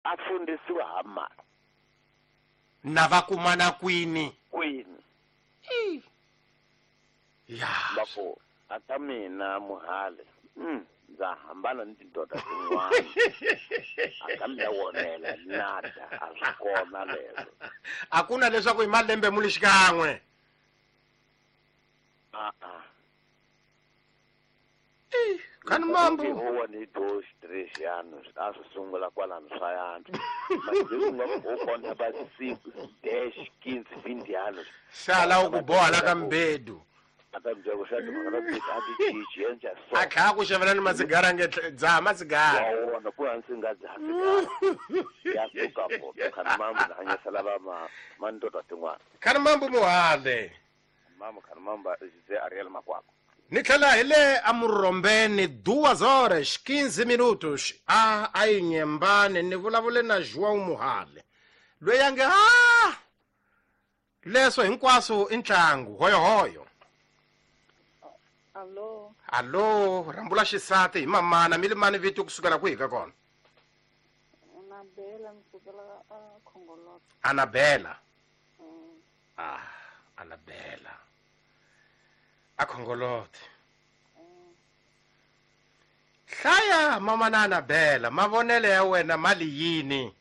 A fundisiwa ha mani? Na va kumana kwini? Kwini? Ya. Va ku a ka mina muhale, ndza hambana ni tindoda tin'wana. A ka mina wonela nada, a swi kona leswo. A ku na leswaku hi malembe mu li xikan'we. A-a. Khani mambo. Huwa ni dos, tres anos, a swi sungula kwalano swa yantswa. Mas leswi nga ku u kona ba cinco, dez, quinze, vinte anos. Sala u ku boha la ka mbedu. A ta byela ku xa timhaka ta ti a ti cinci yenja so. A tlhela ku xavela ni masigara nge dzaha masigara. Wa wona ku hansi nga dzaha sigara. Ya suka poto khani mambo na hanyisela va ma mandoda tin'wana. Khani mambo muhale. Mamo khani mambo Jose Ariel Makwakwa. Ni tlhela hi le amurhombeni duas horas 15 minutos a a yi nyembani ni vulavule na João Muhale loyi a nge a leswo hinkwaswo i ntlangu hoyohoyo. Allo. Allo, rhambula xisati hi mamana mi limani vito kusukela kwihi ka kona? Anabela ni sukela a Khongolota. Anabela. Ah, Anabela. A Khongolote. Hlaya mama na Anabela, mavonelo ya wena mali yini?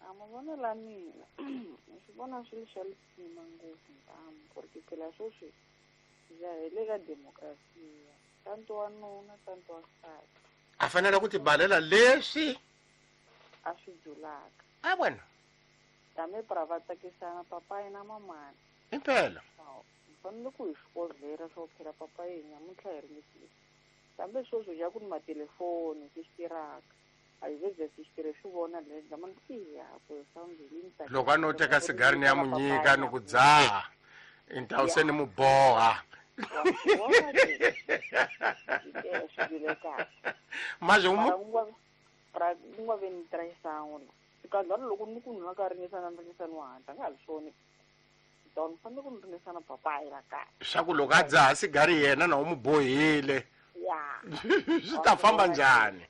A mavonelo ya mina ni swi vona swi ri swa lisima ngopfu ntamu ku ri phela sweswi hi ya hi le ka demokrasiya tanto wanuna tanto wansati A fanele ku tibalela leswi a swi dzulaka. A wena. Tame pra va tsakisana papayi na mamana. Impela. Hi fanele ku hi swi kovhera swo phela papayi nyamuntlha hi ringetile. Kambe sweswi ja ku ni matelefoni swi tirhaka. A hi ze swi tirhe swi vona le ndla iya ku swa Loko a no teka sigari ni ya mu nyika ni ku dzaha intawu se ni mu boha. Manje u mu Pra ku nga ve ni traição la. Xikandlwana loko ni ku nwa ka ringesana ringesana wa hatla nga ha swona. Don fanele ku ni ringesana papayi la kaya. Swa ku loko a dzaha sigari yena na u mu bohile. Ya. Swi ta famba njhani?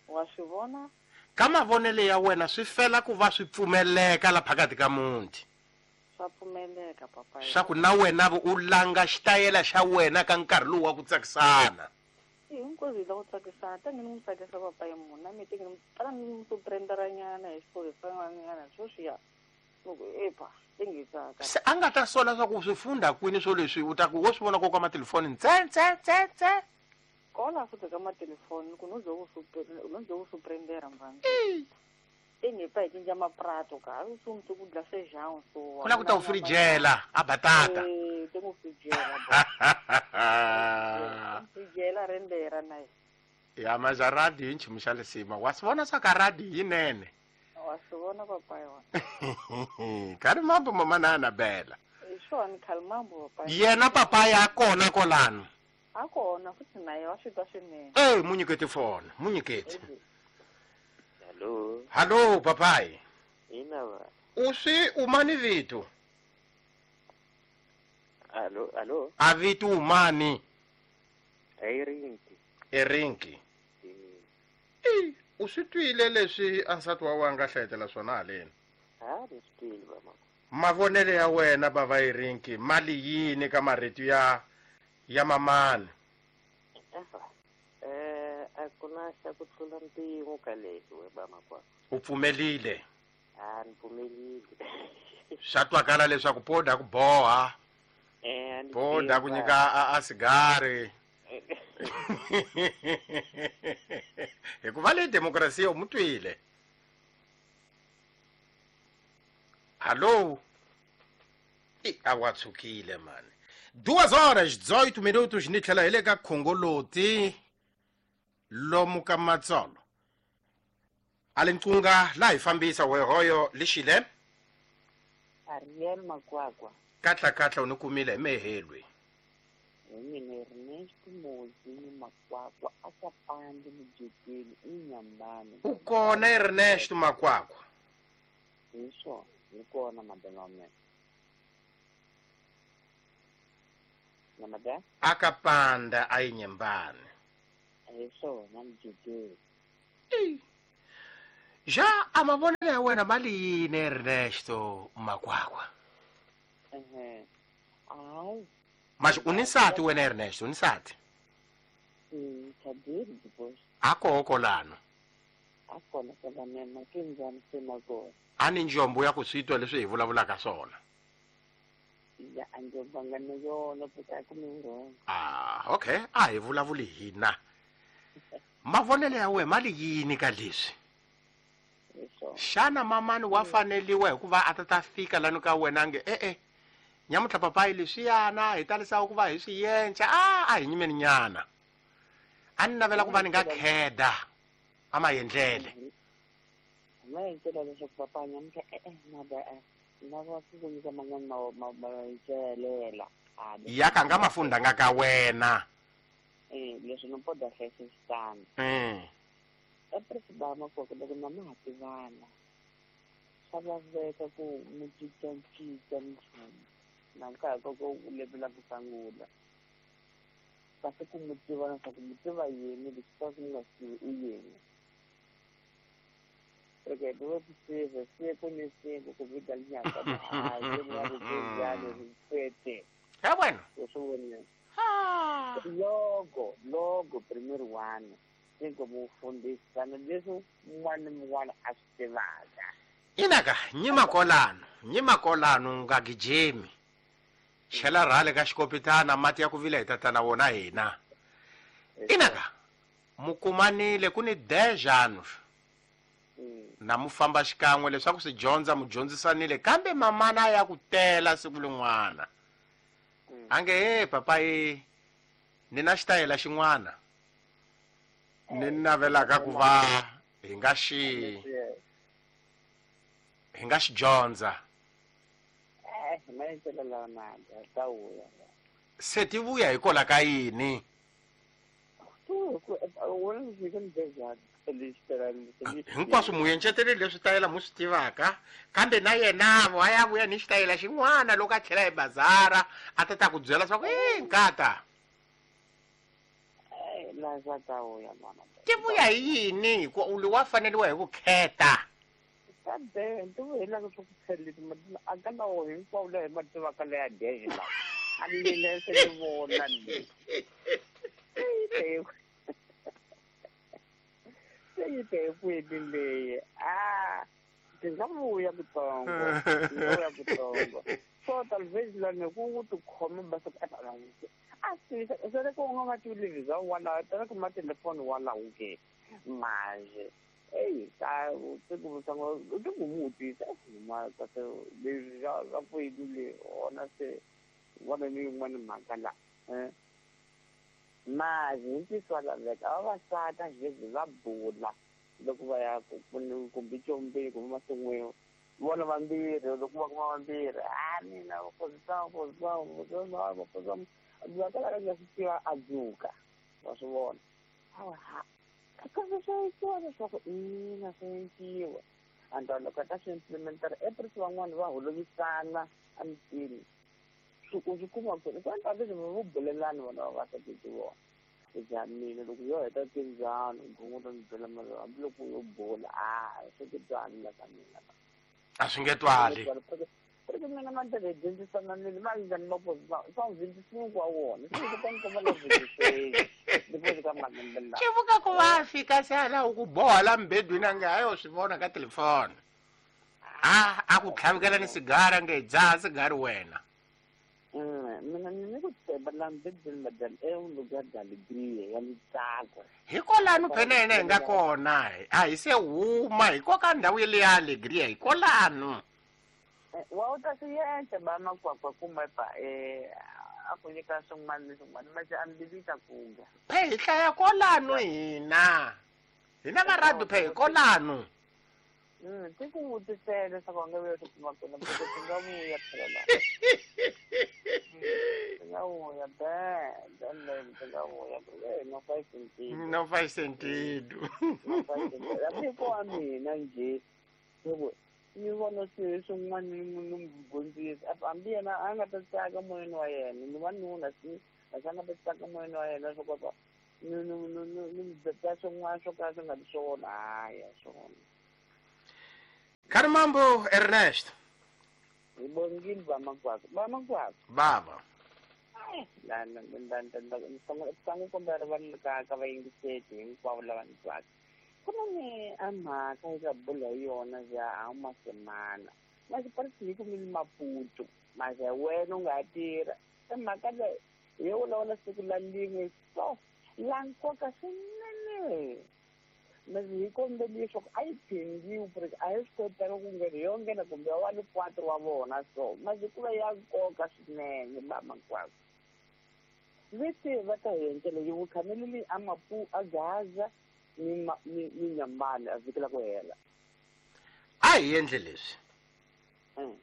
Wa swi vona? Ka mavonelo ya wena swi fela ku va swi pfumeleka la phakathi ka muti. Swa pfumeleka papayi. Swa ku na wena u langa xitayela xa wena ka nkarhi lowu wa ku tsakisana. Hinkwaswo hi la ku tsakisana ta nge ni n'wi tsakisa papayi munhu na mi teke ni tala ni n'wi surprenderanyana hi swilo sweswiya loko epa te nge tsaka. Se a nga ta sola swa ku swi funda kwini swo leswi u ta ku wo swi vona ko ka matelefoni ntse ntse ntse ntse. Kola futhi ka matelefoni ku no zo ku no zo ku surprendera mvana. Te nge pa hi cinca maprato ka a swi n'wi ku dla feijão so. Ku la ku ta u frijela a batata. Eh te n'wi frijela. Frijela rendera na yena. Ya maja radio i nchumu xa lisima wa swi vona swa ka radio yinene. Wa swi vona papa yona. Khali mambo mama na Anabela. Hi swona khali mambo papa. Yena papa ya kona kolano. A kona futhi na yena wa swi twa swinene. Eh munyiketi fona, munyiketi. Hello. Hello papai. Ina va. U swi umani vito? Allo, allo. A vito umani? Erinki. Erinki. Eh, u swi twile leswi a nsati wa wena nga hlayetela swona haleni? Ha, ni swi twile baba. Mavonelo ya wena bava Erinki mali yini ka marito ya ya mamani? A ku na xa ku tlula mpimo ka leswi we bama kwa. U pfumelile? Ha, ni pfumelile. Swa twakala leswaku poda ku boha. Ni Poda ku tiva. nyika a sigari. Hikuva le demokrasiya u mu twile. Hallo? A wa tshukile mani. 2 horas 18 minutos ni tlhela hi le ka Khongoloti lomu ka Matsolo. A le Nqunga la hi fambisa wehoyo lixile. Ariel Makwakwa. Katla katla u ni kumile hi mehelwe. Hi mina Ernesto Mozi Makwakwa a ka pandi mujekeni i Nyambani. U kona Ernesto Makwakwa? Hi swona, hi kona madala wa mina. Na madala? A ka panda a yi Nyambani. Hi swona mujekeni. Ja a mavonelo ya wena ma li yini Ernesto Makwakwa? Ehe. Hayi. Mas u ni nsati wena Ernesto, u ni nsati? Thabile because A koho kolano. A kona kwala mema ke njhani se na kona. A ni njombo ya ku swi twa leswi hi vulavulaka swona. Ya a njombo nga na yona ku ta ku mi wrong. Ah, okay, a hi vulavuli hina. Mavonelo ya wena ma li yini ka leswi? Xana mamani wa faneliwa hikuva a ta ta fika lani ka wena nge e-e nyamutlha papayi leswiyana hi talisaka ku va hi swi yenca a a hi nyimeni nyana a ni navela ku va ni nga kheda a ma yendlele ma yendlela leswaku papa nyamutlha e-e mada e lava ku ku nyika man'wana mayelela ya ka nga mafundanga ka wena. Leswi no poda hlayisa xitandi. Epresibama koko loko na ma ha tivana swa laveka ku mi cincacinca nchumu na nkarhi koko u levela ku sungula kasi ku mi tiva leswaku mi tiva yini leswi swa ku mi nga swi tivi i yini reke dove kuseve siku ni siku kupiga linyaka hayi ripete he wena u swi vonile logo logo primary one siku mufundhisana leswi un'wana ni un'wana a swi tivaka. Inaka nyima kolano nyima kolano nga gijimi chela rhale ka xikopitana mati ya ku vila hi tatana wona hina. Inaka mukumanile ku ni 10 anos na mu famba xikan'we leswaku swi dyondza mu dyondzisanile kambe mamana ya ku tela siku lin'wana a nge he papa e ni na xitayela xin'wana ni navelaka ku va hi nga xi hi nga xi dyondza. Se ti vuya hikola ka yini? Hinkwaswo mu yenceteleli leswi tayela mu swi tivaka kambe na yena wa ya vuya ni xitayela xin'wana loko a tlhela hi bazara a ta ta ku byela swa ku e nkata ti vuya hi yini hikuva u wa faneliwa hi vukheta. Ti nga vuya kutsongo ti nga vuya kutsongo so talvez lani ku tikhoma basa a swi sele ku nga va tivi bya wala tala ku ma telefoni wala ke manje ei ta ku sango ti ku mutisa ma ta se leswi swa ku yini ona se vona ni yin'wana mhaka la manje hi ntiyiso wa laveka vavasati a xivezi va bula loko va ya kumbe combeni kumbe masin'wini vona vambirhi loko va kuma vambirhi a mina va kala nga swi tiva a dzuka wa swi vona hawa ha kambe swa endliwa leswaku ina swa endliwa and loko a ta swi implementera eprisi van'wani va holovisana emitini swi ku swi kuma ku ku endla leswi vo bulelani vona vavasati ti vona ja mina loko yo heta tindzano gongo ta ni byela mara hambiloko yo bula a swi nge twali la ka mina a swi nge twali reke mina mandlela hi dyondzisana nile ma njhani swa vhindzisiwa wa wona swi ku ta ni komba la vhindziseni depois ka malembe lawa swi vuka ku va fika se a laha ku boha la mbedwini a nge hayi u swi vona ka telefoni a a ku tlhavikela ni sigara nge dzaha sigari wena. Mina ni ku tshemba la mbedwini madam é um lugar de alegria ya ntsako hikolano phenene hi nga kona a hi se huma hikoka ndhawu yele ya alegria hikolano wa u ta swi endla ba makwakwa kumbe pa a ku nyika swin'wana ni swin'wana manje a mbilu yi ta kuga phe hi hlaya kolano hina hina va radio phe hi kolano ti ku vutisela leswaku a nga vuya swi kuma kona ti nga vuya phela la ti nga vuya be ti nga vuya no faz sentido no faz sentido no faz sentido hambi ko wa mina njhe loko ni vona swilo swin'wana ni n'wi dyondzisa hambi yena a nga ta tsaka moyeni wa yena ni wanuna si a nga ta tsaka moyeni wa yena swo kota ni ni ni ni ni byela swin'wana swo ka swi nga ri swona haya swona. Kharimambo Ernest. Hi bongile vamakwako. Vamakwako. Baba. Sangu kombela rivalelo ka vayingiseti hinkwavo lava ni twaka. Ku na ni a mhaka eka bula hi yona ya a masemana. Masipalisi hi kumile Maputo. Mase wena u nga tirha. E mhaka leyi hi yo vulavula siku la lin'we so la nkoka swinene. Mase hi kombeli leswaku a yi phindiwi ku ri a hi swi kotanga ku nghena yo nghena kumbe wa le 4 wa vona so mase ku va ya nkoka swinene vamakwavo. Leti va ta hi endlela yi vukhameleli a Mapu a Gaza ni Nyambane a vhiki la ku hela. A hi endle leswi.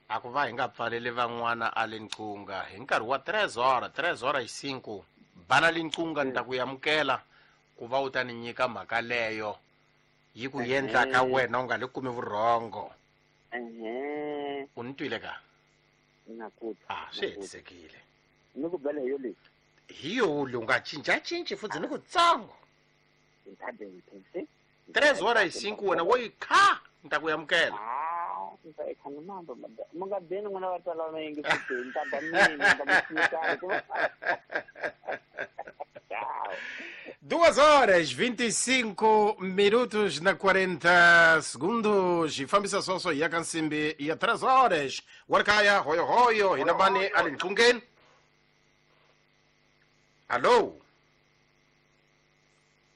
A ku va hi nga pfaleli van'wana a le nqunga hi nkarhi wa 3 horas, 3 horas y 5 bana le nqunga ni ta ku amukela ku va u ta ni nyika mhaka leyo yi ku endla ka wena u nga le kumi vurhongo. U ni twile ka? Na ku twa. Ah, swi hetisekile. Ni ku bela hi yo leyi. Hi yo leyi u nga cincacinci futhi ni ku tsongo. 3 horas y 5 wena wo yi kha ni ta ku amukela. Mi nga beni n'wina va twala va yingiseti, ni ta ba mina, ni ta mi tshika. 2 horas 25 minutos na 40 segundos. Hi fambisa sweswo hi ya ka nsimbi ya 3 horas. Wa ri kaya hoyohoyo hi na mani a le nqungeni. Allo?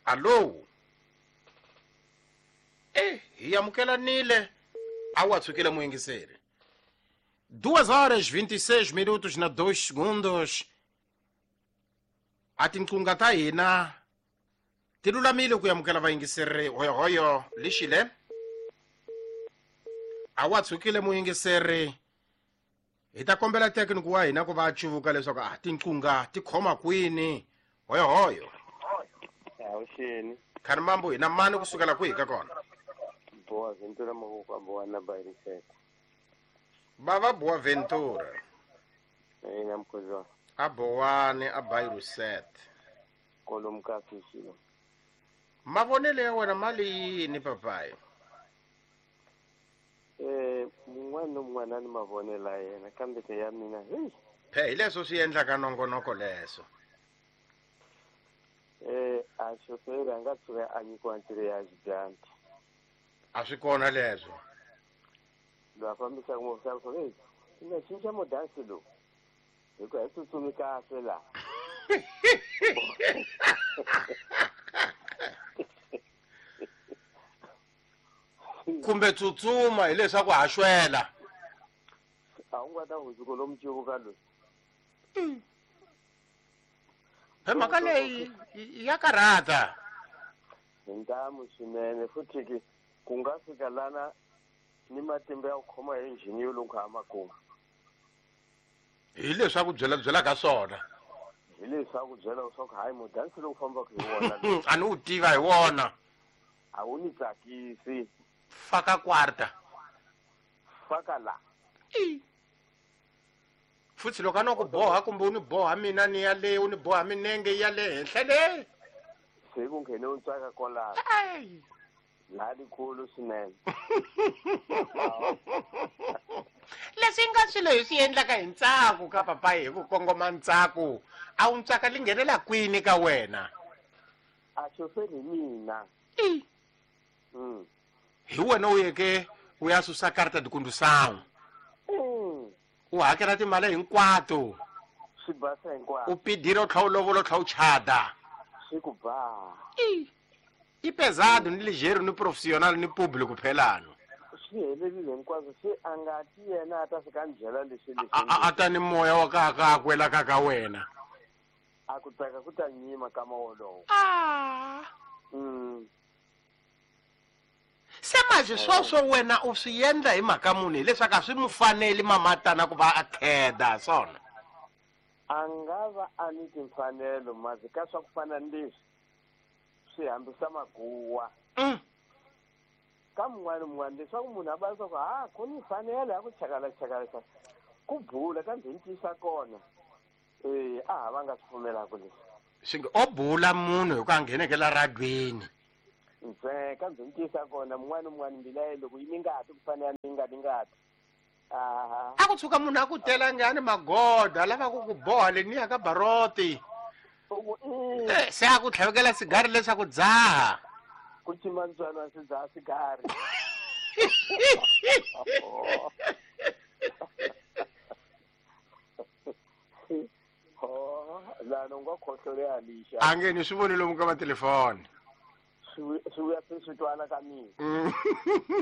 Allo? Hi amukelanile. A wa tshukile muyingiseri. 2 horas 26 minutos na 2 segundos. A tinqunga ta hina ti lulamile ku amukela vayingiseri hoyohoyo lexile. A wa tshukile muyingiseri. Hi ta kombela thekiniki wa hina ku va a cuvuka leswaku a tinqunga ti khoma kwini. Hoyohoyo. Avuxeni. Kharimambo hi na mani kusukela kwihi ka kona? Boa Ventura Mahoko Boa Bairisete. Bava Boa Ventura. Ina mkhozo. A Boane a Bairusete. Kolom ka fishilo. Mavonelo ya wena mali yini papayi? Mun'wana na mun'wana ni mavonelo ya yena kambe ke ya mina hey. Phe hi leswo swi endlaka nongonoko leswo. A xoferi a nga tshuka a nyikiwa ntirho ya xidyambu. A swi kona leswo. Loyi a fambisaka movha swa ku hey, i nga cinca modansi lowu. Hikuva hi tsutsumi kahle laha. Kumbe tsutsuma hileswaku ha xwela. A wu nga ta hundzuka lomu cuvuka loyi. He mhaka leyi ya karhata. Hi ntamu swinene futhi ke ku nga fika lana ni matimba ya ku khoma hi injhini yo loko a makumu. Hi leswaku byela byela ka swona. Hi leswaku byela leswaku hayi mudansi lowu fambaka hi wona. A ni wu tiva hi wona. A wu ni tsakisi. Faka quarta. Faka la. Futhi loko a no ku boha kumbe u ni boha mina ni ya le u ni boha minenge ya le henhla le. Se ku nghene u tsaka kwalaho. Laha likulu swinene. Leswi nga swilo hi swi endlaka hi ntsako ka papayi hi ku kongoma ntsako. A wu ntsaka li nghenela kwini ka wena? A xoferi hi mina. Hi wena u yeke u ya susa karta de condução. U hakela timali hinkwato. Swi basa hinkwaswo. U pidira u tlhela u lovola u tlhela u chada. Swi ku ba. I pesado ni ligeiro ni profissional ni público phelano. Swi helerile hinkwaswo se a nga ti yena a ta fika a ni byela leswi leswi. A ta ni moya wa ka ka kwela ka ka wena. A ku tsaka ku ta nyima ka mawolowo. Se manje sweswo wena u swi endla hi mhaka muni hileswaku a swi mu faneli mamatana ku va a kheda swona. A nga va a ni timfanelo masi ka swa ku fana ni leswi swi hambisa maguwa. Ka mun'wana mun'wana leswaku munhu a va leswaku ha ku ni mfanelo ya ku chakala chakala chakala ku bula kambe hi ntiyisa kona. A ha va nga swi pfumelaka leswi. Swi nge o bula munhu hi ku a ngheneke la radweni. Ndzeka byi ntisa kona mun'wana mun'wana mbila loko yi ni ngati ku fanele ni ngati ngati. Aha. A ku tshuka munhu a ku tela ngani magoda lava ku ku boha leniya ka baroti. Se a ku tlhavekela sigari leswaku dzaha. Ku cima ntswalo swi dzaha sigari. Lana u nga khohloleha lixa. A nge ni swi voni lomu ka matelefoni. Swi vuya se swi twana ka mina.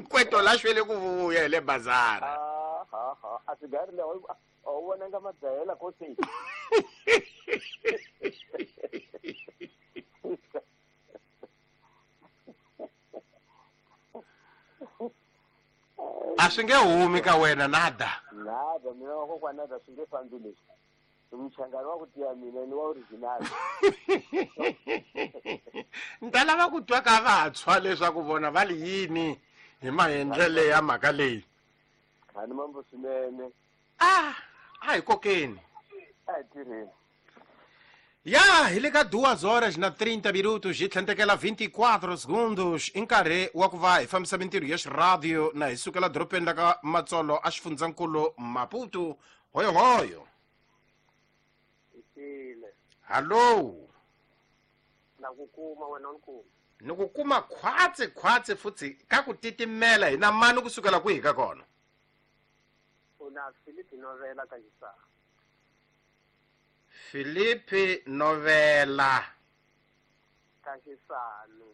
Kweto la xwele ku vuya hi le bazara. A sigari leyi a wu vonanga madzahela ko se. A swi nge humi ka wena nada. Nada mina wa kokwana nada swi nge fambi leswi. Mchangano wa ku tiya mina ni wa original. Ni ta lava ku twa ka vantshwa leswaku vona va li yini hi maendlele ya mhaka leyi. Khani mambo swinene. A hi kokeni. A hi tirheni. Ya hi le ka 2 horas na 30 minutos hi tlhentekela 24 segundos i nkarhi wa ku va hi fambisa mintirho ya xiradio na hi sukela doropeni la ka Matsolo a xifundzankulu Maputo. Hoyohoyo. Hallo. Na ku kuma wena u kuma. Ni ku kuma khwatsi khwatsi futhi ka ku titimela hi na mani kusukela kwihi ka kona? Una Philippe Novela ka Xisana. Philippe Novela ka Xisana.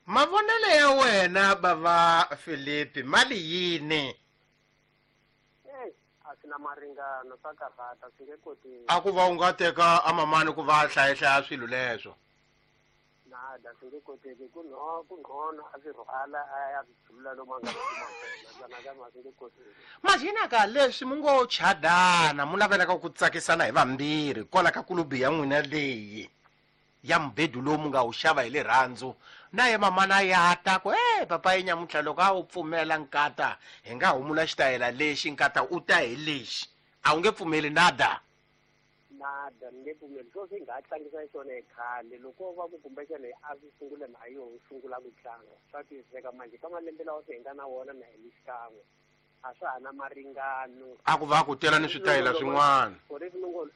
Mavonelo ya wena bava Philippe mali yini? A swi na maringano swa karhata swi nge koteki. A ku va u nga teka amamani ku va hlayahlaya swilo leswo. Nada swi nge koteki ku ngcono a swi rhwala a ya swi dzulula lomu a nga swi kuma kona nakambe a swi nge koteki. Majina ka leswi mu ngo chadana mu navelaka ku tsakisana hi vambirhi kwala ka kulubi ya n'wina leyi ya mubedu lowu mu nga wu xava hi rirhandzu na ye mamana ya ta ku papa yi nyamuntlha loko a wu pfumela nkata hi nga humula xitayela lexi nkata u ta hi lexi a wu nge pfumeli nada. Nada ni nge pfumeli swo swi nga tlangisa xona hi khale loko va ku kumbexana a swi sungula na yo sungula ku tlanga swa twisiseka manje ka malembe lawa swi hi nga na wona na hi xikan'we a swa ha na maringano. A ku va ku tela ni switayela swin'wana.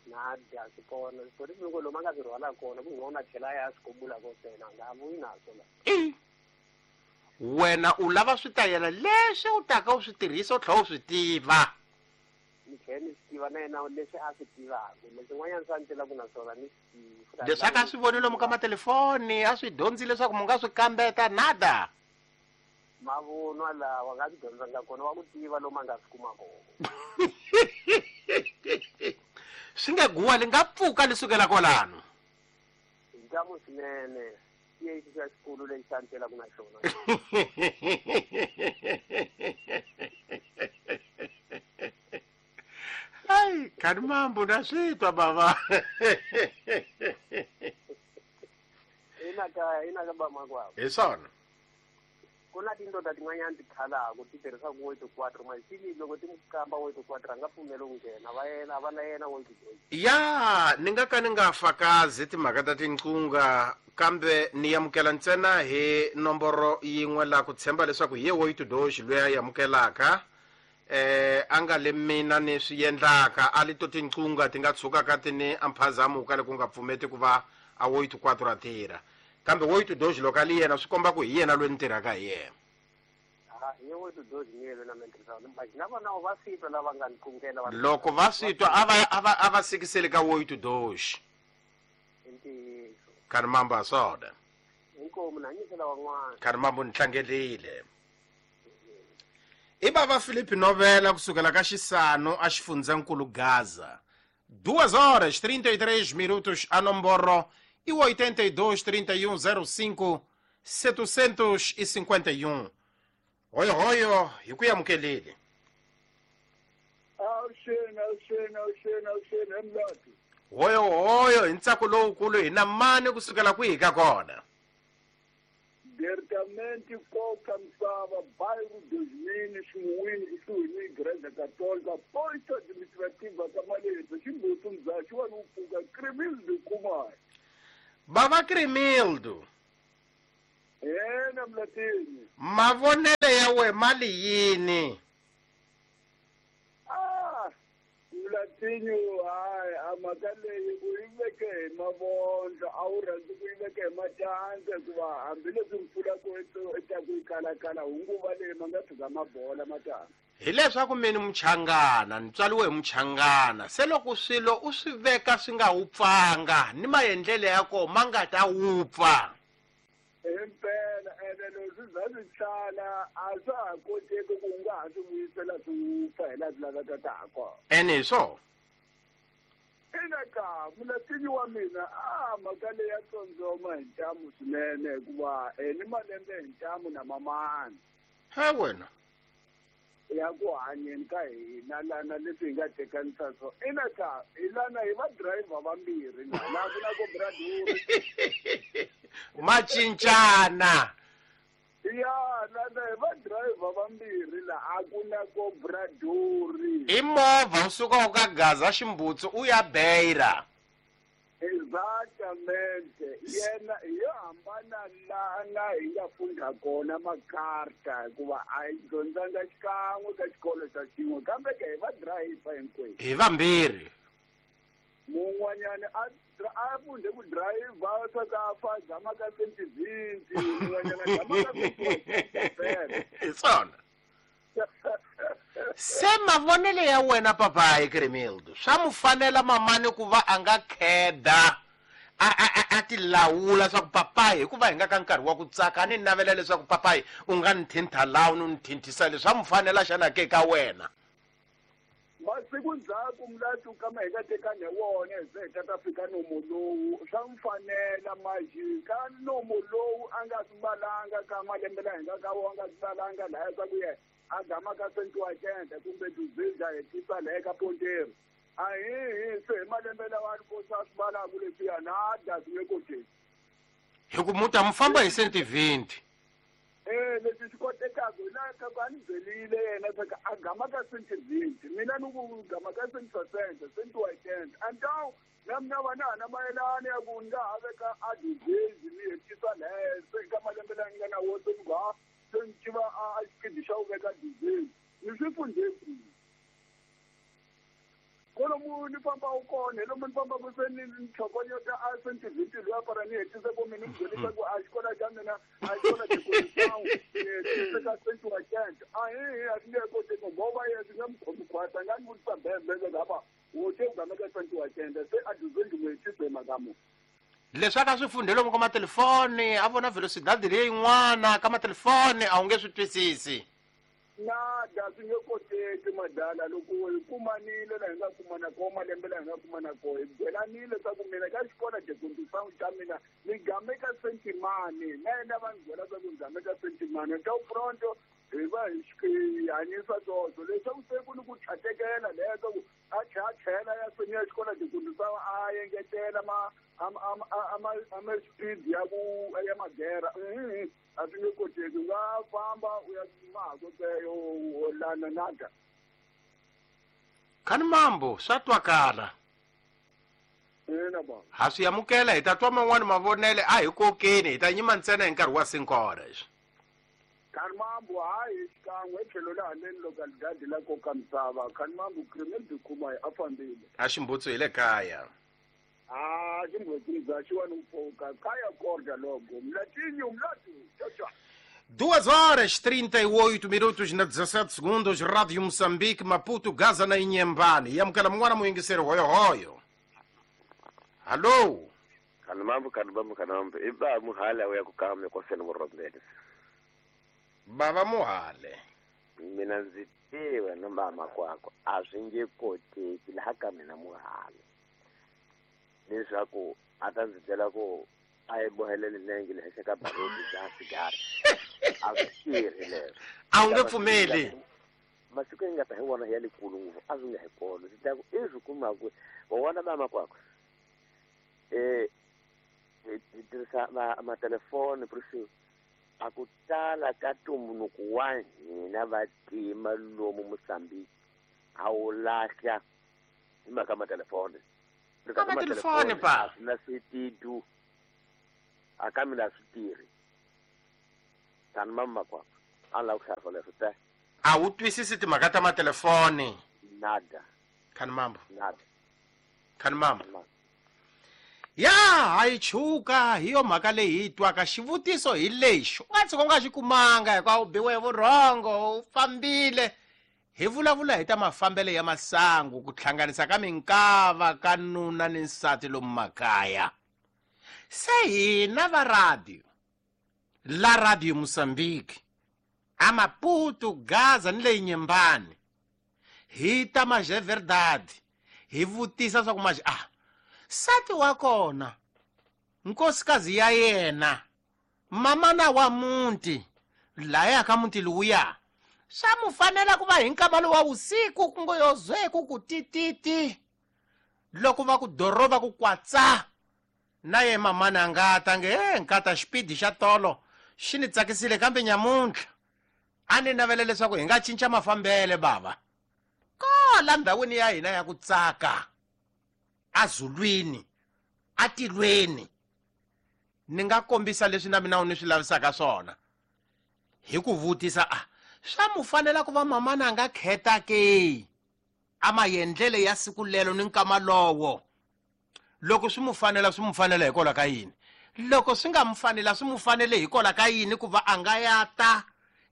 Nada swi kona loko lomu a nga swi rhwala kona ku ngona tlhela ya swi kubula ko sena nga vuyi naswo la. Wena u lava switayela leswi u taka u swi tirhisa u tlhela u swi tiva. Ni tlhela ni swi tiva na yena leswi a swi tivaka leswi n'wanyana swa ni tlelaka na swona ni swi tivi. Leswi a ka swi voni lomu ka matelefoni a swi dyondzi leswaku mu nga swi kambeta nada. Mavunwa lawa nga swi dyondzanga kona wa ku tiva lomu a nga swi kuma kona. Swi nge guwa li nga pfuka li sukela kwalano. Hi ntamu swinene i exi xa xikulu lexi xa ni tlelaka na xona. Ai, khani mambo na swi twa bava. Ina ka bamakwavo. Hi swona. Ku na tindoda tin'wanyana ti khalaka ti tirhisaka oito quatro maxili loko ti kamba oito quatro a nga pfumeli ku nghena va yena va na yena oito dois. Ya ni nga ka ni nga fakazi timhaka ta tinqunga kambe ni amukela ntsena hi nomboro yin'we la ku tshemba leswaku hi ye oito dois loyi a amukelaka a nga le mina ni swi endlaka a li to tinqunga ti nga tshukaka ti ni amphazamuka loko nga pfumeti ku va a oito quatro a tirha. Kambe oito dois loko a li yena swi komba ku hi yena loyi ni tirhaka hi yena. Hi oito dois ni yena na mina tirhisaka. Na vona va swi twa lava nga ni qungela va Loko va swi twa a va sikiseli ka oito dois. I ntiyiso. Khani mambo a swona. Inkomu na nyikela van'wana. Khani mambo ni tlangelile. I bava Philippe Novela kusukela ka Xisano a xifundzankulu Gaza. 2 horas 33 minutos a nomboro e 82 31 05 751. Hoyo hoyo hi ku amukelile. Awuxeni awuxeni awuxeni awuxeni emlati. Hoyo hoyo hi ntsako lowukulu hi na mani kusukela kwihi ka kona? Diretamente koka misava bairro 2000 ximuwini kusuhi ni Igreja Católica posto administrativa ka Maleza ximbutu mzaxi wa ni pfuka Cremildo Kumai. Baba Crimildo. Yena Mlatini. Mavonele ya we mali yini? Ah, Mlatini hayi amaka leyi u yi veke hi mavondlo a wu rhandzi ku yi veke hi matandza hikuva hambileswi mpfula ku etaku yi kalakala hunguva leyi ma nga tshika mabola matandza. Hileswaku mina muchangana ni tswariwe hi muchangana se loko swilo u swi veka swi nga wupfanga ni maendlelo ya kona ma nga ta wupfa. Impela ene leswi bya swi tsala a swa ha koteki ku u nga ha swi vuyisela swi wupfa hi laha swi lavekaka ha kona. Ene hi swona. Ina ka mulatini wa mina a mhaka leyi ya tsondzoma hi ntamu swinene hikuva ni malembe hi ntamu na mamani. He wena. Ya ku hanyeni ka hina lana leswi hi nga tekanisa swo ina ka hi lana hi va driver vambirhi na laha ku na ko braduri macincana ya lana hi va driver vambirhi la a ku na ko braduri i movha u suka u ka Gaza Ximbutsu u ya Beira. Exactamente yena yo hambana lana hi nga funda kona makarta hikuva a hi dyondzanga xikan'we ka xikolo xa xin'we kambe ke hi va driver hinkwenu. Hi vambirhi. Mun'wanyana a funde ku driver swa ka fa gama ka sentivinti mun'wanyana gama ka sentivinti. Hi swona. Se mavonelo ya wena papayi Crimildo swa mu fanela mamani ku va a nga kheda a tilawula swa ku papayi hikuva hi nga ka nkarhi wa ku tsaka a ni navela leswaku papayi u nga ni thintha laha u ni thinthisa leswi swa mu fanela xana ke ka wena. Masiku ndzhaku mulati kama hi nga tekani hi wona hi ze hi ta ta fika nomo lowu swa mu fanela maji ka nomo lowu a nga swi balanga ka malembe laha hi nga ka wona a nga swi balanga lahaya swa ku yena a gama ka sentiwakende kumbe tuzidla hetisa lehe ka ponteri a hi se hi malembe lawa a ri kosa a swi balaka leswiya na a dya swi nge koteki. Hi ku muta mu famba hi sentivinti. Leswi swi kotekaka hi laha ka ku a ni byelile yena swa ku a gama ka sentivinti mina ni ku gama ka sentiwakende sentiwakende antawu na mina va na ha na mayelana ya ku ni nga ha veka a dizezi ni hetisa lehe se ka malembe laha ni nga na wo se ni ku ha se ni tiva a xipidi xa ku veka dizezi ni swi fundhe kwihi kolomu ni famba u kona hi lomu ni fambaka se ni tlhokonyota a sentivinti luya para ni hetise ku mina ni byelisa ku a xikolo xa mina a xikolo xikolosawu ni hetise ka sentiwakende a hi a swi nge koteki ngoba ye swi nge mu khomi khwata nga ni vutisa bembele hava wo te u gama ka sentiwakende se a dizezi mu hetise hi mhaka mu. Leswi a swi fundhe lomu ka matelefoni a vona velocidade leyin'wana ka matelefoni a wu nge swi twisisi. Nada swi nge koteki madala loko hi kumanile laha hi nga kumana kona malembe laha hi nga kumana kona hi byelanile swa ku mina ka xikolo dekondisangu xa mina ni game ka sentimani na yena va ni byela swa ku ni game ka sentimani ta pronto hi va hi hanyisa swoswo leswaku se ku ni ku tlhatekela leya swa ku a tlhela ya senior xikolo dekondisangu a engetela ma ama speed ya ku ya magera a swi nge koteki u nga famba u ya mahakoteyo lana nada. Khani mambo swa twakala. Ina ba. Ha swi amukela hi ta twa man'wani mavonele a hi kokeni hi ta nyima ntsena hi nkarhi wa 5 horas. Khani mambo hayi xikan'we tlhelo la haleni loko ligadi la koka misava khani mambo Crimildo kuma hi a fambile. A ximbutsu hi le kaya. Ah, ximbutsu bya xiwani u pfuka kaya korda logo mlatinho mlatu tchau. 2 horas 38 minutos na 17 segundos, Rádio Moçambique, Maputo, Gaza na Inhambane. Yamukela mwana muyingiseri hoyo hoyo. Alô? Kanamambo kanamambo kanamambo. Iba muhale uya kukame kwa sena murobele. Baba muhale. Mina ndzi tiva na mama kwakho a swi nge koteki laha ka mina muhale. Leswaku a ta ndzi byela ku a yi bohelele nenge le henhla ka baruti bya sigara. A swi tirhi leswo. A wu nge pfumeli. Masiku yi nga ta hi wona ya lekulu ngopfu a swi nga hi kona. Ndzi ta ku i swi kumaku wa vona mama kwakho. Hi tirhisa matelefoni prisi a ku tala ka ntumbuluko wa hina vantima lomu Mozambique a wu lahla hi mhaka matelefoni. Ka matelefoni pa. Na switidu. A ka mina swi tirhi. Tani mama makwapa. A ni lava ku hlaya leswo te. A wu twisisi timhaka ta matelefoni. Nada. Khani mambo. Nada. Khani mambo. Ya hayi chuka hi yo mhaka leyi hi twaka xivutiso hi lexi u nga tshuka u nga xi kumanga hikuva u biwe hi vurhongo u fambile hi vulavula hi ta mafambelo ya masangu ku hlanganisa ka minkava ka nuna ni nsati lomu makaya se hina va radio la radio Mozambique a Maputo Gaza ni leyi Nyembani hi ta maje verdade hi vutisa swa ku maje ah sati wa kona nkosikazi ya yena mamana wa muti laya ka muti luya swa mu fanela ku va hi nkama lowu wa vusiku ku ngo yo zweku ku tititi loko va ku doroba ku kwatsa na ye mamana a nga ta nge e nkata xipidi xa tolo xi ni tsakisile kambe nyamuntlha a ni navela leswaku hi nga cinca mafambele bava kola ndhawini ya hina ya ku tsaka azulwini atilweni ni nga kombisa leswi na mina u ni swi lavisaka swona hi ku vutisa a swa mu fanela ku va mamana a nga kheta ke a maendlele ya siku lelo ni nkama lowo loko swi mu fanela swi mu fanela hikwalaho ka yini loko swi nga mu fanela swi mu fanele hikwalaho ka yini ku va a nga ya ta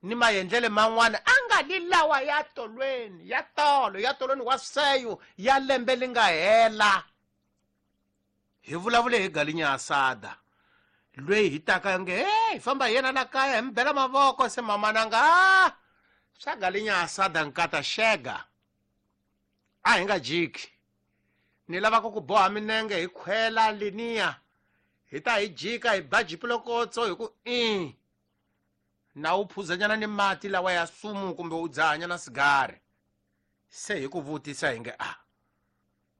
ni maendlele man'wana a nga li lawa ya tolweni ya tolo ya tolweni wa seyo ya lembe li nga hela hi vulavule hi galinya asada lweyi hi taka nge hey famba hi yena la kaya hi mi bela mavoko se mamana nga swa galinya asada nkata xega a hi nga jiki ni lava ku ku boha minenge hi khwela liniya hi ta hi jika hi ba jipilokotso hi ku i na u phuzanyana ni mati lawa ya sumu kumbe u dzahanyana sigari se hi ku vutisa hi nge a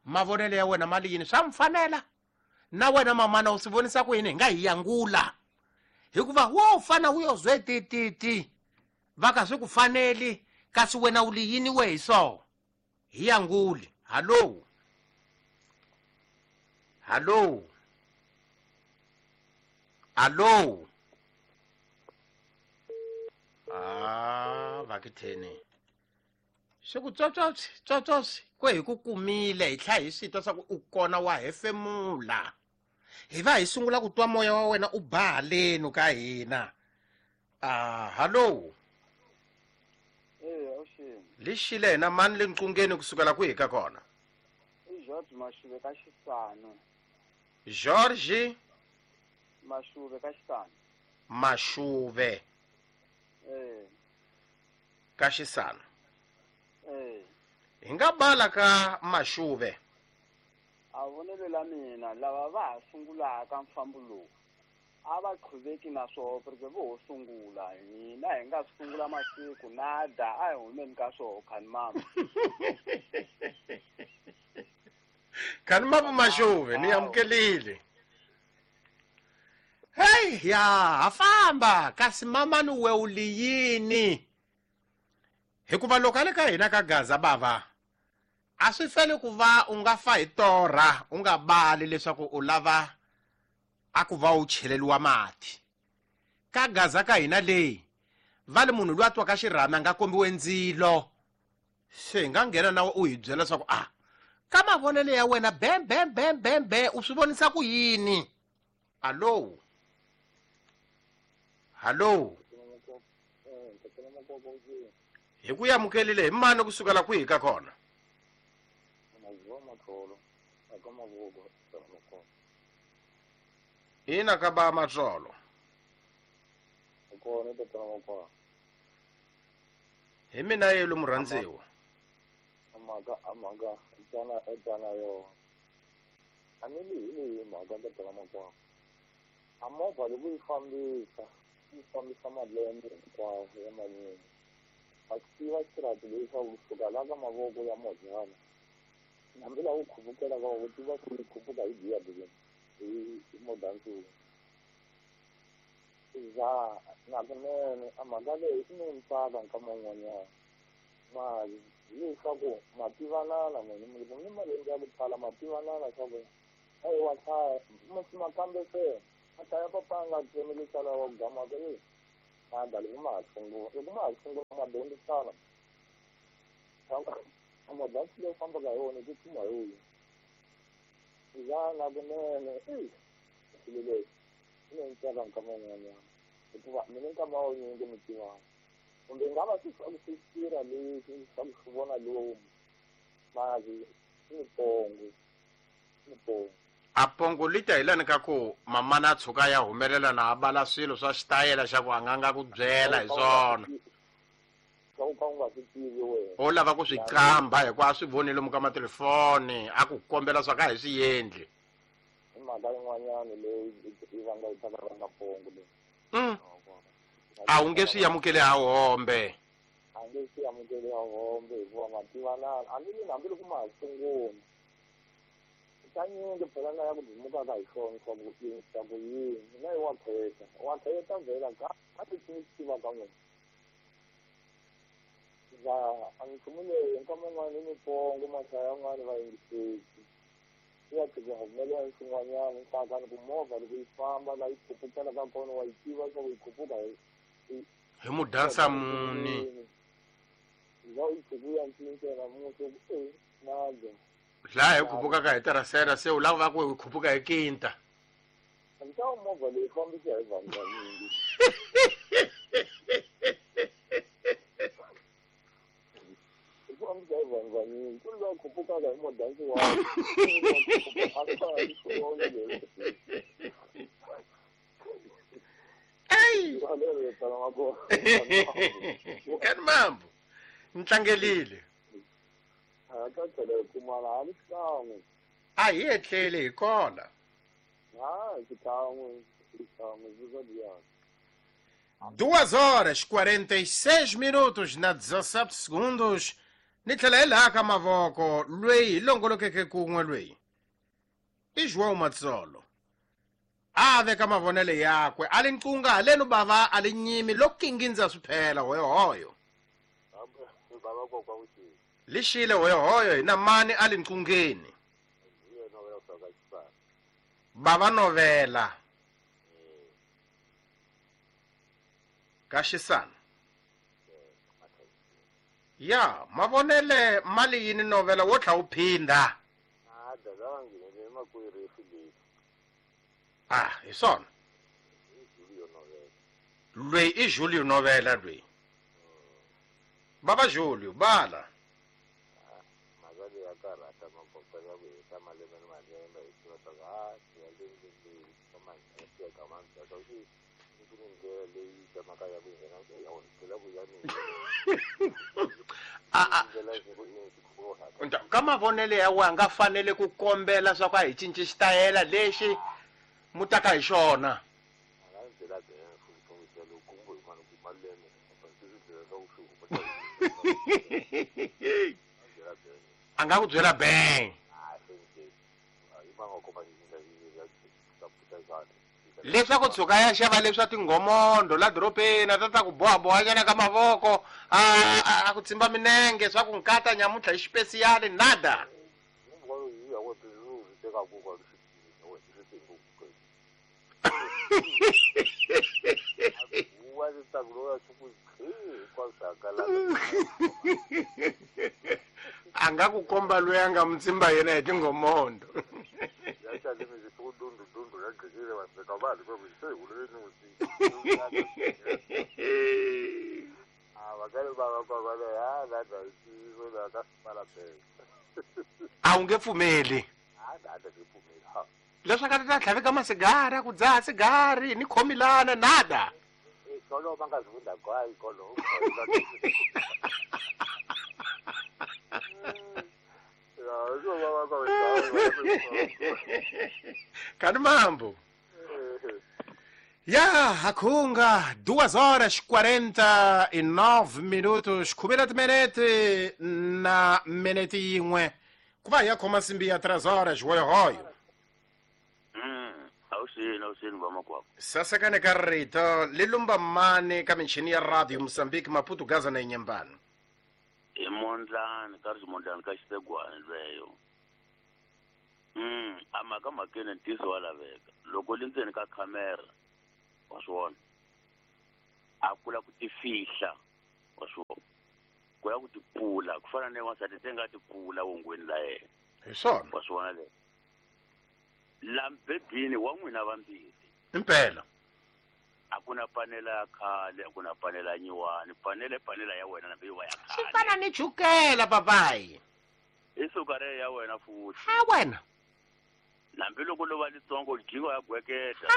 mavonelo ya wena mali yini swa mi fanela na wena mamana u swi vonisa ku yini hi nga hi yangula hikuva wo fana wu yo zwe tititi va ka swi ku faneli kasi wena u li yini we hi so hi yanguli hallo hallo hallo ah vakitheni swi ku tswotswotswi tswotswotswi ku hi ku kumile hi tlhela hi swi twa swa ku u kona wa hefemula hi va hi sungula ku twa moya wa wena u ba haleni ka hina ah hallo lixile hina mani le nqungeni kusukela kwihi ka kona i George Mashuve ka Xisano George Mashuve ka Xisano Mashuve ka Xisano hi nga bala ka Mashuve a vonelo la mina lava va ha sungulaka mfambo lowu a va qhuveki na swoho porque vo ho sungula hina hi nga sungula masiku nada a hi humeni ka swoho khani mama khani mama Mashuve ni amukelile hey ya ha famba kasi mamani we u li yini hikuva loko a le ka hina ka Gaza bava a swi feli ku va u nga fa hi torha u nga bali leswaku u lava a ku va u cheleliwa mati ka Gaza ka hina leyi va le munhu loyi a twaka xirhami a nga kombiwe ndzilo se hi nga nghena na u hi byela leswaku a ka mavonelo ya wena be be be be be u swi vonisa ku yini hallo hallo hi ku amukelile hi mani kusukela kwihi ka kona ina ka ba matsolo hi mina yelo murhandziwa mhaka tana yo a ni li hi leyi mhaka tatana makwavo a movha loko yi fambisa malembe hinkwawo ya manyingi a swi tiva xirati leswaku kusuka la ka mavoko ya mozana hambi laha u khupukela ka u tiva ku yi khuphuka hi giya hi modansuku za nakunene a mhaka leyi i no ntsaka nkama wun'wanyana mali hileswaku ma tivanana n'wini ni malembe ya ku tala ma tivanana swa ku eyi wa hlaya ma kambe se A ta ya papa nga tsemeli sala wa gama ka le. A dali ma sungula. Loko ma sungula ma dyondzisana. A ma dansi leyi fambaka hi wona ku kuma hi wona. Ya na kunene i swilo leswi swi ni ntsaka nkama wun'wanyana hikuva mina nkama wa nyingi mi tivana kumbe nga va swi swi tirha leswi swa ku swi vona lomu mali i pongo i pongo a pongo li ta hi lani ka ku mamana a tshuka ya humelela na a bala swilo swa xitayela xa ku a nga nga ku byela hi swona ka u ka u nga swi tivi wena o lava ku swi qamba hikuva a swi voni lomu ka matelefoni a ku kombela swa ka hi swi endli i mhaka yin'wanyana leyi yi vanga yi taka vanga pongo leyi A wu nge swi amukeli ha hombe a nge swi amukeli ha hombe hikuva ma tivanana hambi ni hambiloko ma ha sungula kanyingi phela na ya ku dumukaka hi swona swa ku swa ku yini na yi wa khetha wa khetha vhela ka a ti swi tiva ka n'wina va a nchumu leyi nkama wun'wani i mipongo mahlaya yan'wani va yingiseki ya tlhela humelela swin'wanyana nhlakani ku movha loko yi famba la yi khupukela ka kona wa yi tiva swa ku yi khupuka hi hi mudansa muni va yi khupuka ya ncinca namuntlha ku e naja laha hi khupukaka hi terasera se u lava va ku hi khupuka hi kinta ntawo movha leyi fambisa hi vanhu vanyingi hi fambisa hi vanhu vanyingi ku ri va khupukaka hi modansi wa kani mambo ni tlangelile ka tlhela hi kumana a ni xikan'we a hi etleli hi kona ha xikan'we xikan'we swi 2 horas 46 minutos na 17 segundos ni tlhela hi laha ka mavoko lweyi hi longolokeke kun'we lweyi i João Matsolo a veka mavonelo yakwe a li nqunga halenu bava a li nyimi lo kingindza swi phela hoyohoyo bava kokwa vuxini lixile hoyohoyo hi na mani a li nqungeni hi yena u ya faka xifana bava novela ka xisana ya mavonele mali yini novela wo tlha wu phindha a dada va nghenele makwerhu leyi ah hi swona i Julio Novela lweyi i Julio Novela lweyi bava Julio bala mhaka leyi ya karhata magogo ya ku heta malembe ni malembe hi tiva swa ku ha ya leyi ka mandzhaka ku ku ni ndlela leyi tsemaka ya ku nghena ya tlhela ku ya ni ndlela ku ka mavonelo ya wena nga fanele ku kombela swa ku a hi cinci xitayela lexi mu taka hi xona a nga byela byela futhi loko kumbe mani ku malembe a nga ku byela bang leswaku tshuka ya xava leswa tinghomondo la doropeni a ta ta ku bohabohanyana ka mavoko a ku tsimba minenge swa ku nkata nyamuntlha hi xipesiyali nada a nga ku komba loyi a nga mutsimba yena hi tinghomondo a wu nge pfumeli leswaku a ti ta tlhaveka masigari a ku dzaha sigari ni khomilana nada kani mambo ya hakhunga 2 horas 49 minutos khumela timinete na minete yin'we ku va hi ya khoma nsimbi ya 3 horas hoyohoyo awusini vamakwavo sasekane ka rito li lumba mani ka michini ya radio Mozambique Maputo Gaza na Inhambane i mondlani ka ri ximondlani ka xisegwani lweyo A mhaka mhakeni ntiyiso wa laveka. Loko li ndzeni ka khamera, wa swi vona. A kula ku tifihla, wa swi vona. Ku ya ku tipfula, ku fana na wansati se nga tipfula wongweni la yena. Hi swona. Wa swi vona leswo. La mbedweni wa n'wina vambirhi. Impela. A ku na panela ya khale, a ku na panela ya nyiwani. Panela i panela ya wena nambe yi va ya Swi khale. fana ni chukela papayi. I suka re ya wena futhi. Ha wena. Nambi loko lo va litsongo jiko ya gweketa.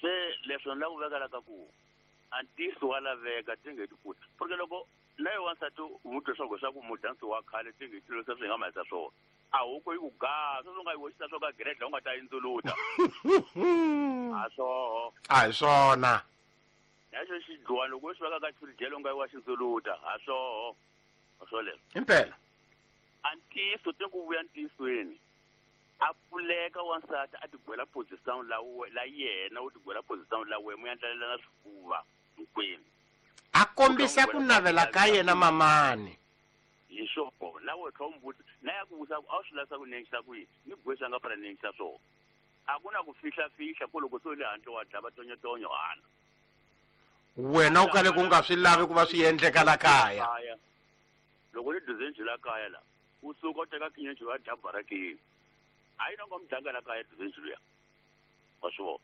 Se leswo ni la ku vekela ka ku a ntiyiso wa laveka ti nge ti kuti. Porque loko na yo wansati u n'wi twa swa ku mudansi wa khale ti nge ti leswi swi nga mahisa swona. A huku yi ku gaa, sweswi u nga yi hoxisa swo ka gredla u nga ta yi ndzuluta. A swoho. A hi swona. Na xo xidluwani loko u xi veka ka xifirijelo u nga yi wa xi ndzuluta. A swoho. A swo leswo. Impela. A ntiyiso te ku vuya ntiyisweni. A pfuleka wansati a tigwela position la la yena u tigwela position la wena mu ya ndlalelana swifuva hinkwenu. A kombisa ku navela ka yena mamani. Hi swona na wena tlha u mbuti na ya ku vutisa ku a wu swi lavisa ku nengisa ku yini ni gwesa nga fana nengisa swona. A ku na ku fihla fihla ku loko se u le handle wa dlava tonyotonyo hana. Wena u kale ku nga swi lavi ku va swi endleka la kaya. Loko ni duzenji la kaya la u suka u teka kinyenji wa dya barakeni. A yi na nga mudlanga la kaya duzenji luya. Wa swi vona.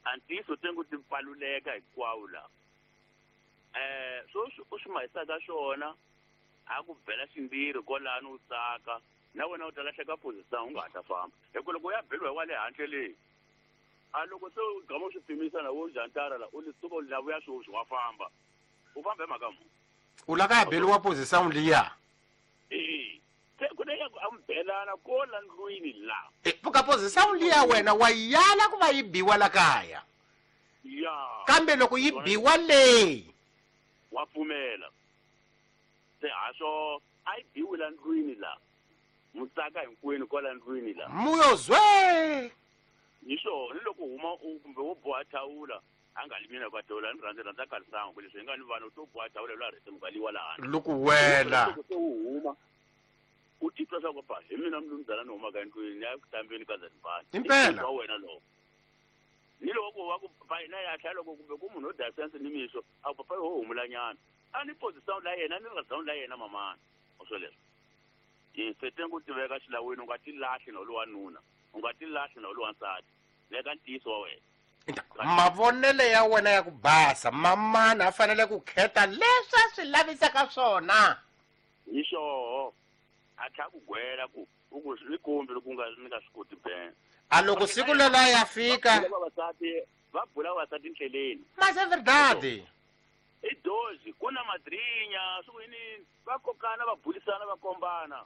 A ntiyiso tengu ti pfaluleka hinkwawo la. Sweswi u swi mahisaka swona a ku bela ximbirhi kwalano u tsaka na wena u ta lahleka position u nga ha ta famba. Hi ku loko u ya beliwa hi wa le handle leyi a loko se u gama u swi pimisa na wo jantara la u li suka u la vuya sweswi wa famba. U famba hi mhaka muni? U la ka ya beliwa position liya. Se ku na ya ku a mi belana ko la ndlwini la. Pfuka position liya wena wa yala ku va yi biwa la kaya. Ya. Kambe loko yi biwa leyi wa pfumela. Se ha swo a yi biwi la ndlwini la. Mutsaka hinkwenu kwala ndlwini la. Muyo zwe. Hi swona ni loko huma u kumbe wo boha thawula a nga li mina ka thawula ni rhandza rhandza ka lisangu leswi hi nga ni vanhu to boha thawula lwa rhese mukaliwa la handle. Loko wela. Loko se u huma u titwa swa ku pa hi mina mlumzana ni humaka endlwini ni ya ku hlambeni ka Zanzibar. Impela. Wa wena lowo. Ni loko wa ku pa na ya tlhela loko kumbe ku munhu o dya sense ni mixo a ku papa ho humulanyana. A ni position la yena ni rhandza la yena mamana. O swo leswo. Hi se tengu tiveka xilawini u nga ti lahli na lowa nuna. U nga ti lahli na lowa nsati. Veka ntiyiso wa wena. Mavonelo ya wena ya ku basa mamana a fanele ku khetha leswi a swi lavisaka swona. Hi xoho. A tlhela ku gwela ku u ku swi kombi loko u nga ni nga swi koti ben. A loko siku lelo ya fika va bula vavasati ndleleni. Mas é verdade. I dozi ku na madrinya swi ku yini va kokana va bulisana va kombana.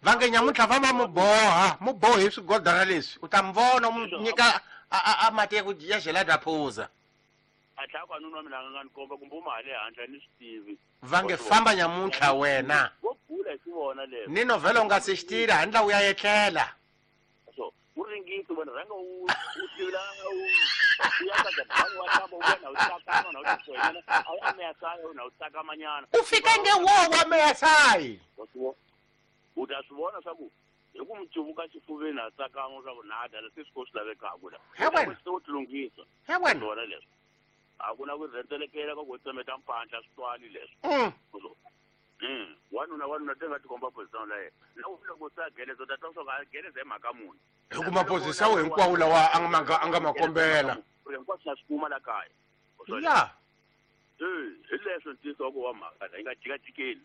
Va nge nyamuntlha va ma muboha mubohi swigodana leswi u ta mi vona mu nyika a mati ya ku ya gelada phuza. A tlhela ku nuna wa mina a nga ni komba kumbe u ma le handle ni swi tivi. Va nge famba nyamuntlha wena. Vo bula hi swi vona leswi. Ni novhela u nga se xi tira handle u ya etlela. So u ringisi wena rhanga u tivula u ya ka dabani wa hlamba u vona u tsakama na u tiswenya a wu ameyasayi na u tsakamanyana. U fika nge wo wa ameyasayi. U ta swi vona swa ku hi ku mi cuvuka xifuveni a tsakama swa ku na dala se swi ko swi lavekaka la. He wena. Se u tilunghisa. He wena. Vona leswi. A ku na ku rhendzelekela ka ku tsemeta mpandla swi twali leswi. Wanuna te nga tikomba position la yena. Na u loko se a geleza u ta twa swa ku a geleza hi mhaka muni. Hi kuma position hinkwawo lawa a nga ma kombela. Hinkwaswo na swi kuma la kaya. Ya. Hi leswo ntiyiso wa ku wa mhaka yi nga jikajikeli.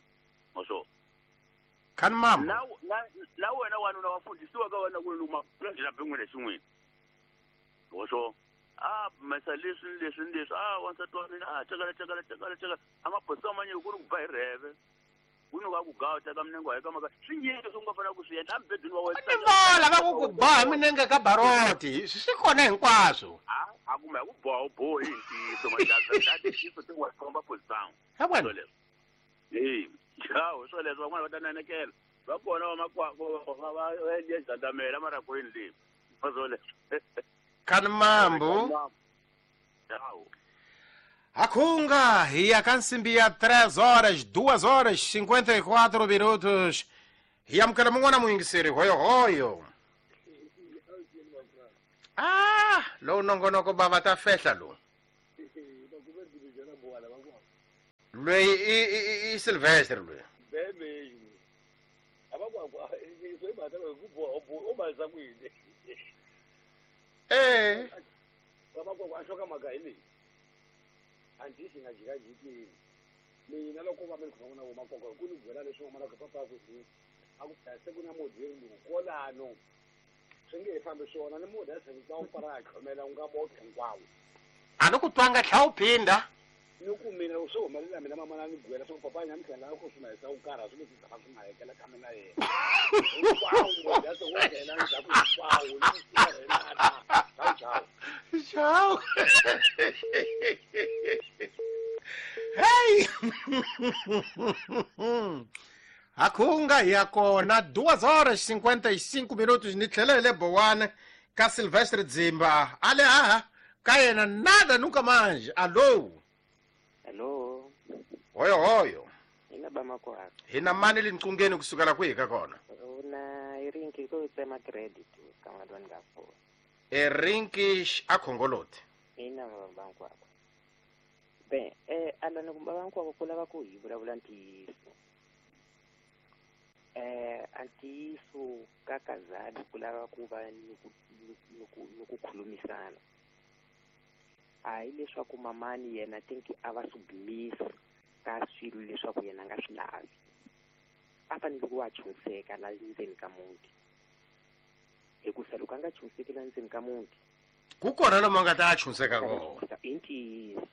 Wa swona. Khani mama. Na wena wanuna wa fundisiwa ka wena ku luma la bin'wini xin'wini. Wa swona. A mesa leswi leswi leswi a wansati wa mina a cakala cakala cakala cakala a maphorisa manyiki ku ri ku ba hi rheve. Ku ni va ku gawa teka minenge wa ka maka swi nyingi swi nga fanele ku swi endla embedweni wa wena. Ni vola va ku ku boha minenge ka baroti swi kona hinkwaswo. A kumbe ku boha u bohi hi ntiyiso majaza ntiyiso ti wa komba position. He wena. Hawu swo leswo van'wana va ta nanekela. Va kona va makwako va endle jandamela mara kwini leyi. Va swo leswo. Khani mambo. Akhunga hi ya ka nsimbi ya 3 horas 2 horas 54 minutos. Hi amukela mun'wana muyingiseri, hoyohoyo. Ah, lowu nongonoko bava ta fehla lowu. Loyi i Silvestre loyi. Eh. Mina loko va mi khoma na voma koko ku ni byela leswi n'wana ka papa ku hi a ku se ku na modzi lowu kolano swi nge fambi swona ni mudya se va wu para a khomela u nga boke hinkwawo a ni ku twanga tlha u phinda ni ku mina swi humelela mina mama ni byela swa papa nya mihlela ku swi na sa u karha swi leswi tshama swi nga hekela ka mina yena hinkwawo modya se wu nghena ndzhaku hinkwawo ni ku ciao ciao. Hey! Hakunga ya kona 2h55 minutos ni tlhela hi le Bowane ka Silvestre Dzimba. Ale aha ka yena nada nunca mais. Allo. Hello. Hoyo hoyo. Ina ba makwaka. Hina mani linqungeni kusukela kwihi ka kona? Una irinki ko tsema credit ka madwani ka fona. Erinki a khongoloti. Ina ba makwaka. Bem, alana kumba vankwako ku lava ku hi vulavula ntiyiso. Ntiyiso ka kazali ku lava ku va ni ku khulumisana. A hi leswaku mamani yena tinki a va submisa ka swilo leswaku yena a nga swi lavi. A fanele ku va chunseka la ndzeni ka muti. Hikusa loko a nga chunseki la ndzeni ka muti, ku kona lomu a nga ta chunseka kona. I ntiyiso.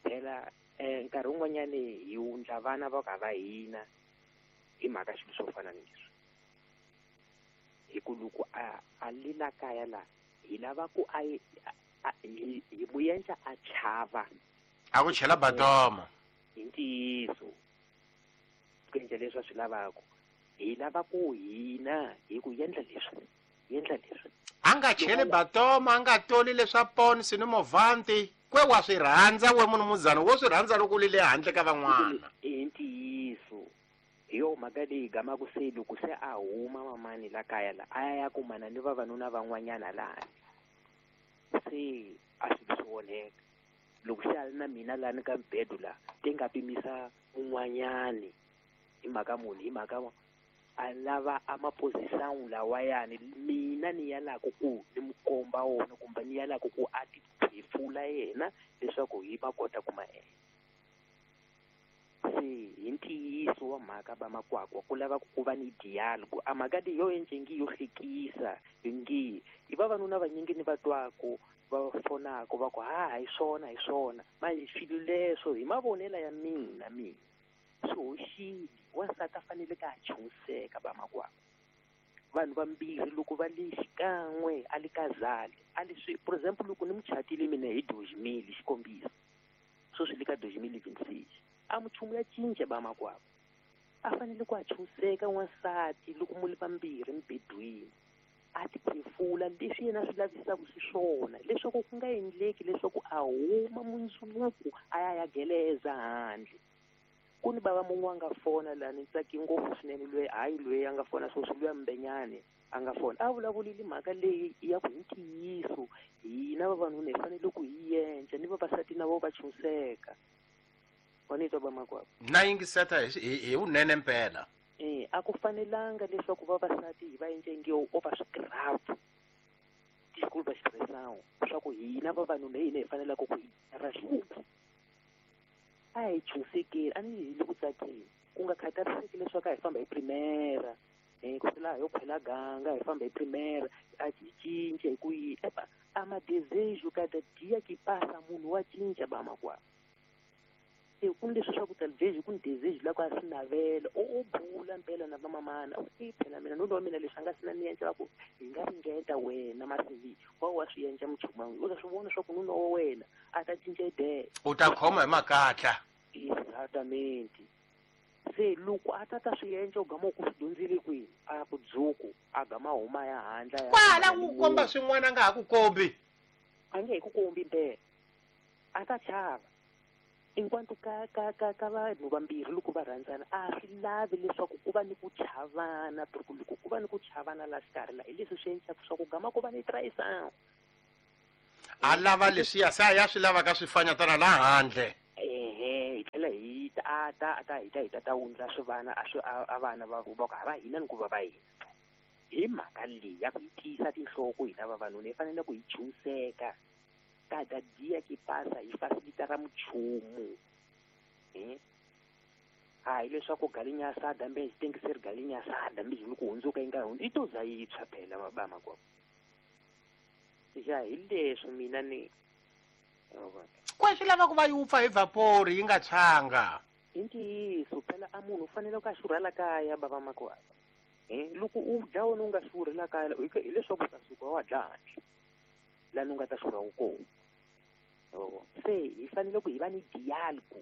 Phela nkarhi wun'wanyani hi wundla vana va ka va hina hi mhaka swilo swo fana ni leswi. Hi ku loko a le la kaya la hi lava ku a hi mu endla a chava. A ku chela batoma. Hi ntiyiso. Ku endla leswi a swi lavaka. Hi lava ku hina hi ku endla leswi. Endla leswi. A nga cheli batoma, a nga toli leswa ponsi ni movanti. Kwe wa swi rhandza we munhu muzana, wo swi rhandza loko u li le handle ka van'wana. I ntiyiso. Hi yo mhaka leyi gamaka se loko se a huma mamani la kaya la, a ya kumana ni vavanuna van'wanyana lani. Se a swi swi onheka. Loko se a ri na mina lani ka mbedo la, te nga pimisa un'wanyani hi mhaka muni, hi mhaka a lava a maposition lawayani mina ni yalaka ku ni mu komba wona kumbe ni yalaka ku a ti phefula yena leswaku hi va kota ku ma endla. Se hi ntiyiso wa mhaka va makwakwa ku lava ku va ni dialogue. A mhaka leyi yo endle yo hlekisa ngi i vavanuna vanyingi ni va twako va fonako va ku ha hi swona hi swona manje swilo leswo hi mavonelo ya mina swi hoxile. Wansati a fanele ka a chunseka va makwakwa. Vanhu vambirhi loko va le xikan'we a le kazali a le swi, for example loko ni muchatile mina hi 2000 xikombiso sweswi le ka 2026 a muchumu ya cinca va makwakwa. A fanele ku a chunseka wansati loko mu le vambirhi mbedweni a ti phefula leswi yena swi lavisaka xiswona leswaku ku nga endleki leswaku a huma mundzuku a ya ya geleza handle. Ku ni bava mun'we a nga fona la ni tsaki ngopfu swinene loyi hayi loyi a nga fona sweswi luya Mbenyane a nga fona a vulavulile mhaka leyi ya ku hi ntiyiso hina vavanuna hi fanele ku hi endla ni vavasati na vo va chunseka. Wa ni twa va makwavo? Na yingiseta hi vunene mpela. A ku fanelanga leswaku vavasati hi va endle nge o va swigraphu desculpa expressão swa ku hina vavanuna hi hina hi fanelaka ku hi ra xihuku. A hi chunsekeni a ni hi le ku tsakeni ku nga khathariseki leswaku a hi famba hi primera ku sela yo khwela ganga hi famba hi primera a hi cinca hi ku yi epa a madesejo cada dia que passa munhu wa cinca ba makwavo. Ku ni leswi swa ku talvez ku ni desejo la ku a swi navela o bula mpela na vamamana i phela mina nuna wa mina leswi a nga sina ni endla va ku hi nga ringeta wena masivi wa swi endla muchumu u ta swi vona swa ku nuna wa wena a ta cinca idea u ta khoma hi makatla. Exatamente. Se loko a ta swi endla u gama ku swi dyondzile kwini a ku dzuku a gama huma ya handla ya kwala ku komba swin'wana a nga ha ku kombi a nge he ku kombi mpela a ta chava. Enquanto ka ka ka ka vanhu vambirhi loko va rhandzana a swi lavi leswaku ku va ni ku chavana, porque loko ku va ni ku chavana la xikarhi la hi leswi swi endlaka swa ku gama ku va ni traição. A lava leswiya se a ya swi lavaka swi fanyatana laha handle. Ehe, hi tlhela hi ta a ta a ta hi ta hi ta ta wundla swivana a swi a vana va va ku a va hina ni ku va va hina. Hi mhaka leyi ya ku yi tiyisa tinhloko hina vavanuna hi fanele ku hi chuhiseka. Cada dia que pasa hi facilitara muchumu. Hayi leswaku galinha assada mbe tem que ser galinha assada mesmo loko hundzuka yi nga hundzi yi to za yi tshwa phela ba makwavo. Ya hi leswi mina ni Kwa swi lava ku va yi wupfa hi vapori yi nga tshwanga. I ntiyiso phela a munhu u fanele ku a xurha la kaya bava makwavo. Loko u dya wena u nga xurhi la kaya hileswaku u ta suka wa dya handle lani u nga ta xurha kona. Se hi fanele ku hi va ni diálogo,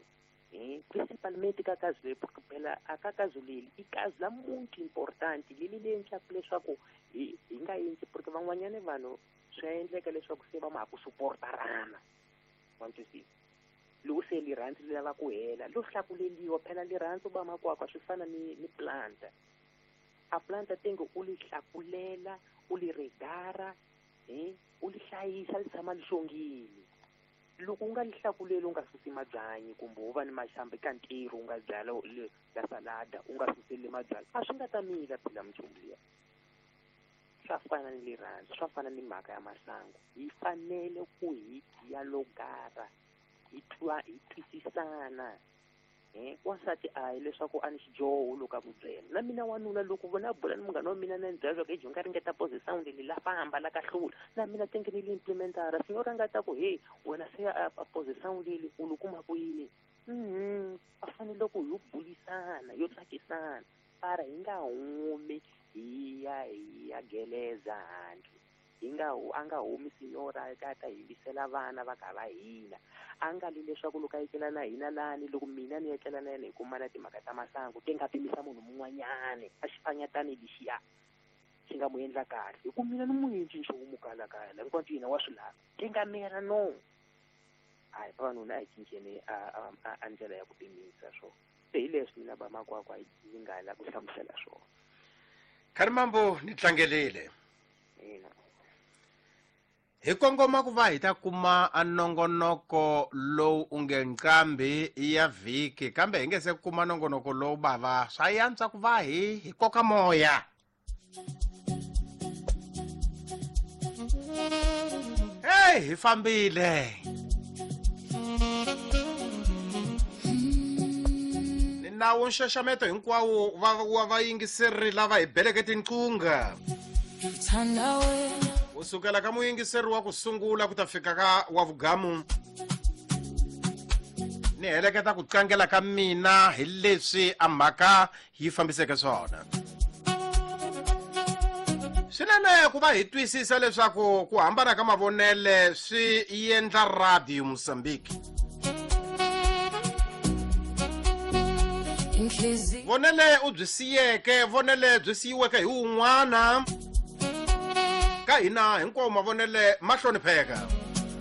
principalmente ka caso leyi, porque phela a ka caso leri i caso la muito importante leli leyi endlaka leswaku hi nga endli, porque van'wanyana vanhu swi endleka leswaku se va ma ha ku suportarana. Wa twisisa? Loko se rirhandzu ri lava ku hela lo hlakuleliwa phela rirhandzu ba makwakwa swi fana ni planta. A planta tenge u li hlakulela, u li regara, u li hlayisa li tshama li xongile. Loko u nga li hlakuleli u nga susi mabyanyi kumbe u va ni maxamba eka ntirho u nga byala la salada u nga suseli mabyala a swi nga ta mila phela minchumu liya. Swa fana ni rirhandzu, swa fana ni mhaka ya masangu. Hi fanele ku hi dialogara, hi twa, hi twisisana. Wansati a hi leswaku a ni xidyoho loko a ku byela. Na mina wanuna loko vona bula ni munghana wa mina na ni byela leswaku hi nga ringeta position leyi la famba la ka hlula. Na mina tenge ni li implementara. Signora nga ta ku he wena se a position leyi u li kuma ku yini? A fanele ku yo bulisana, yo tsakisana. Para hi nga humi hi ya geleza handle. Hi nga a nga humi signora ka ta yimbisela vana va ka va hina. A nga li leswaku loko a etlela na hina lani loko mina ni etlela na yena hi kumana timhaka ta masangu ti nga pimisa munhu mun'wanyani a xi fanyatani lexiya xi nga mu endla kahle. Hi ku mina ni mu endli nchumu kala kaya la hinkwato yena wa swi lava. Ti nga mera no. Hayi vavanuna a hi cinceni a ndlela ya ku pimisa swona. Se hi leswi mina ba makwakwa yi nga la ku hlamusela swona. Kharimambo ni tlangelile. Ina. Hi kongoma ku va hi ta kuma a nongonoko lowu u nge nqambi ya vhiki, kambe hi nge se kuma nongonoko lowu bava swa yantswa ku va hi koka moya. Hey, hi fambile. Ni nawu nxaxameto hinkwawo wa vayingiseri lava hi beleke tinqunga. U sukela ka muyingiseri wa ku sungula ku ta fika ka wa vugamu. Ni heleketa ku tlangela ka mina hi leswi a mhaka yi fambiseke swona. Swinene ku va hi twisisa leswaku ku hambana ka mavonele swi endla Radio Mozambique. Vonele u byi siyeke, vonele byi siyiweke hi wun'wana. Ka hina hinkwawo mavonele ma hlonipheka.